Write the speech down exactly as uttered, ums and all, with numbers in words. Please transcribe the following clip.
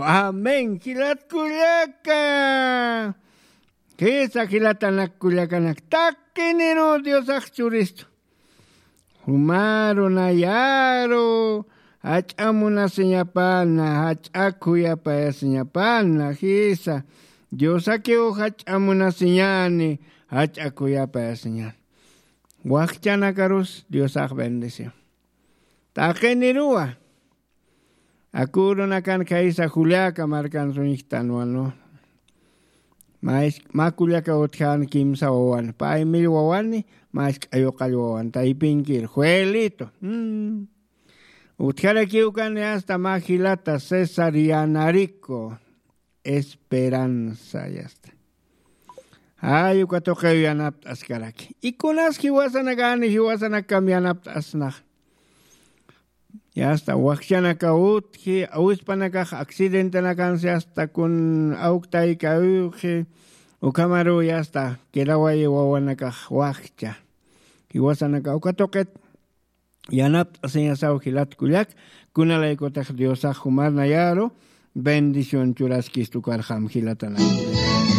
Amén jilatkullaka. Jisa jilatanak kullakanak taqiniru diosax churistu. Jumaru nayaru jach'a munasiñapana jach'a khuyapayasiñapana jisa. Diosakiw jach'a munasiñani jach'a khuyapayasiñani. Wakchanakarus diosax bendición. Taqiniruwa. Akurunakan khaysa juliaka markan suñjtanwanu. Makullaka utjan kimsa wawan paymil wawani. Mask'ayuqall wawan taypinkir juelito. Utjarakiwkani asta majilata cesarianariku. Esperanza yasta. Ay uka tuqiw yanapt'askaraki ikunas jiwasanakani jiwasanakam yanapt'asnax. Yasta wakchanaka utji awispanakax accidentenakansi asta kun awktayka uyuqji. Ukhamaruw yasta kilawayi wawanakax wakcha. Jiwasanaka uka tuqit yanapt'asiñasaw jilatkullak. Kunalaykutix diosax jumarnayaru bendición churaskistukarxam jilatanakuri.